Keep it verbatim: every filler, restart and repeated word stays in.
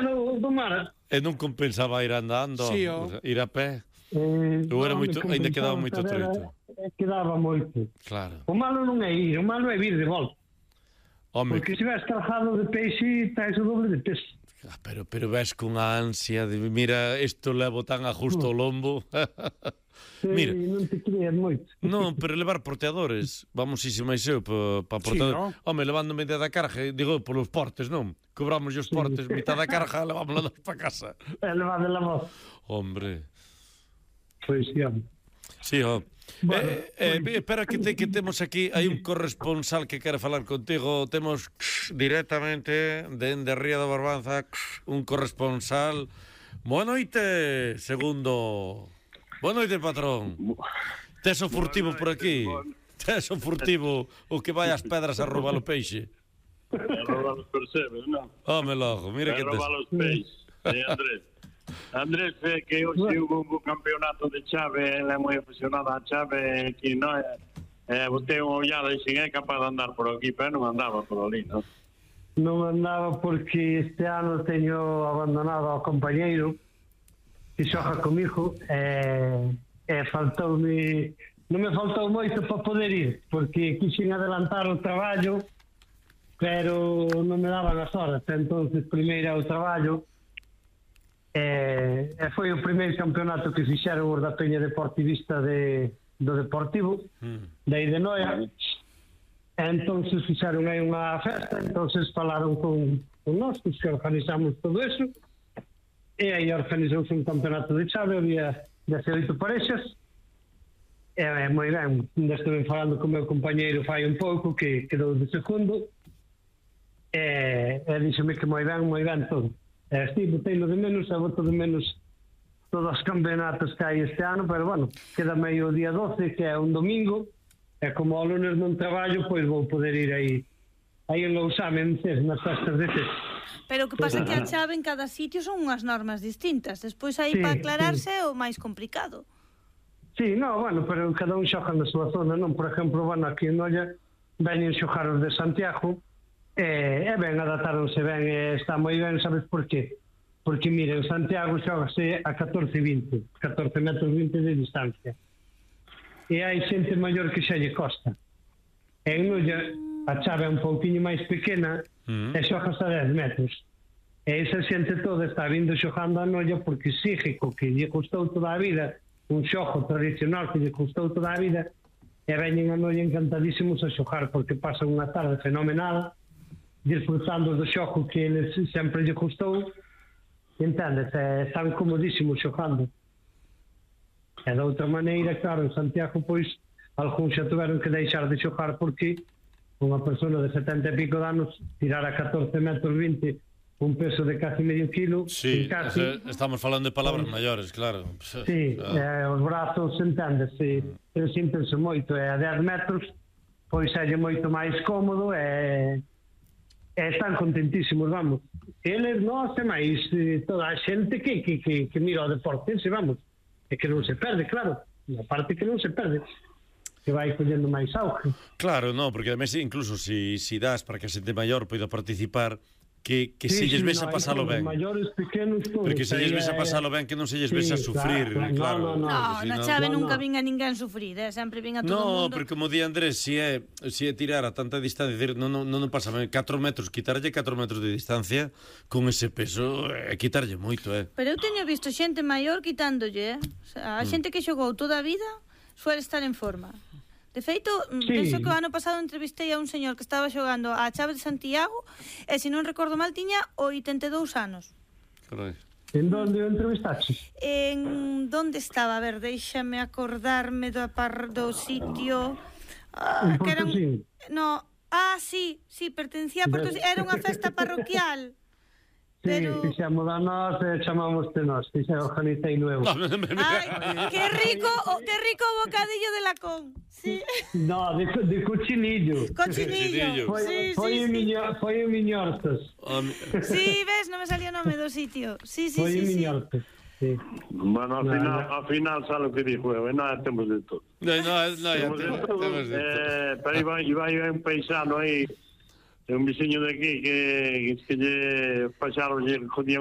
do, do mar. E non compensaba ir andando, Sí, oh. ir a pé. Eh, Ou era non, moito, me ainda quedaba compensaba moito saber, treito. eh, Quedaba moito. Claro. O malo non é ir, o malo é vir de volta. Home, Porque se vas cargado de peixe, tais o doble de peso. ah, pero, pero ves con a ansia de, mira, isto levo tan a justo o lombo. Mira, Sí, non te creas moito. non, pero levar porteadores, vamos isi máis eu pa, pa porteador. Sí, no? Home, levando media da carga, digo, polos portes, non? Cobramos os portes, mitad da carga, levámosla para casa. É levar de la voz. Hombre. Pois, sí, home. Sí, oh. Bueno, eh, eh, espera que, te, que temos aquí, hai un corresponsal que quere falar contigo. Temos directamente dende Ría da Barbanza un corresponsal. Boa noite, segundo. Boa noite, patrón. Tes o furtivo por aquí. Tes o furtivo o que vai ás pedras a roubar o peixe. A roubar os percebes, non? Home, logo, mira A que tes. roubar os peixes. Eh, Andrés. Andrés, é que hoxe hubo un campeonato de chave, ele é moi aficionado á chave, que non é, eh, botei unha ollada e xin é capaz de andar por aquí, pero non andaba por ali, non? Non andaba porque este ano teño abandonado ao compañeiro que xoja comigo e, e faltoume, non me faltou moito para poder ir, porque quixen adelantar o traballo, pero non me daban as horas, entonces primeiro o traballo. E, e foi o primeiro campeonato que fixeron os da Peña Deportivista de, do Deportivo mm. de aí de Noia. E entonces fixeron aí unha festa, entonces falaron con, con nós que organizamos todo eso, e aí organizouse un campeonato de chave, había dezaoito parexas, e é moi ben, ainda estuve falando con o meu compañeiro fai un pouco que quedou de segundo, e, e díxome que moi ben, moi ben todo. Eh, sí, botei-lo de menos, e boto de menos todos os campeonatos que hai este ano, pero bueno, queda meio o día doce, que é un domingo, e como ao lunes non traballo, pois vou poder ir aí aí en Lousame, nas festas de Cés. Pero o que pasa é que a chave en cada sitio son unhas normas distintas, despois aí Sí, para aclararse sí. é o máis complicado. Sí, no, bueno, pero cada un xoga na súa zona, non? Por exemplo, bueno, aquí en Noia veñen xogar os de Santiago, e, e ben, adaptaronse ben, e está moi ben, sabes por qué? Porque, mire, en Santiago xogase a catorce vinte, catorce metros vinte de distancia. E hai xente maior que xa lle costa. E en Noia a chave é un pouquinho máis pequena mm. e xogase a dez metros. E esa xente toda está vindo xogando a Noia porque exige co que lle custou toda a vida, un xogo tradicional que lle custou toda a vida, e veñen a Noia encantadísimos a xogar porque pasan unha tarde fenomenal disfrutando do xogo que eles sempre lle custou, entendes, e están comodísimos xogando. E de outra maneira, claro, en Santiago pois algúns xa tuveron que deixar de xogar porque unha persona de setenta e pico de anos tirar a catorce metros vinte un peso de casi medio kilo, sí, casi, estamos falando de palabras pues, maiores, claro. Sí, ah. eh, os brazos, entendes, e mm. sintense moito, e a dez metros pois é moito máis cómodo e e están contentísimos, vamos. Eles, nós, e máis eh, toda a xente que, que, que, que mira o deporte, se vamos, e que non se perde, claro, a parte que non se perde, que vai collendo máis auge. Claro, no, porque además incluso si, si das para que a xente maior poida participar, que, que sí, se lles sí, ves no, a pasalo ben. Maiores, pequenos, todos. Porque se lles ves a pasalo ben, que non se lles ves sí, a sufrir, claro. claro. No, no, no, no, na chave no, nunca no. vin a ninguén sufrir, eh? Sempre vin a todo no, o mundo. No, porque como di Andrés, si é, si é tirar a tanta distancia, decir, non, non, non pasa ben, catro metros, quitarlle catro metros de distancia con ese peso, é eh, quitarlle moito, eh. Pero eu teño visto xente maior quitándolle, eh? O sea, a mm. xente que xogou toda a vida suele estar en forma. De feito, sí. penso que o ano pasado entrevistei a un señor que estaba xogando a chave de Santiago e, se non recordo mal, tiña oitenta e dous anos. Carai. En donde o entrevistaste? En donde estaba? A ver, déixame acordarme do, par, do sitio... Ah, que era un... No, ah, sí, sí, pertencía a Porto... Era unha festa parroquial. Sí, pero... fixemos a nós e chamamos de nós, que se organizei luego. Ai, que rico, oh, que rico o bocadillo de lacón. Sí. No, de, de cochinillo. Cochinillo. Foi, sí, foi, sí, miño, sí. foi o miñortos. Sí, ves, non me salía o nome do sitio. Sí, sí, foi sí. Foi o miñortos. Sí. Bueno, ao no, final, no. ao final sabe o que dixo eu, e nós temos de todo. No, no, no, temos de todo. Temos de todo. Eh, pero iba, iba, iba un paisano aí, un veciño de aquí que, que lle pasaron, lle jodían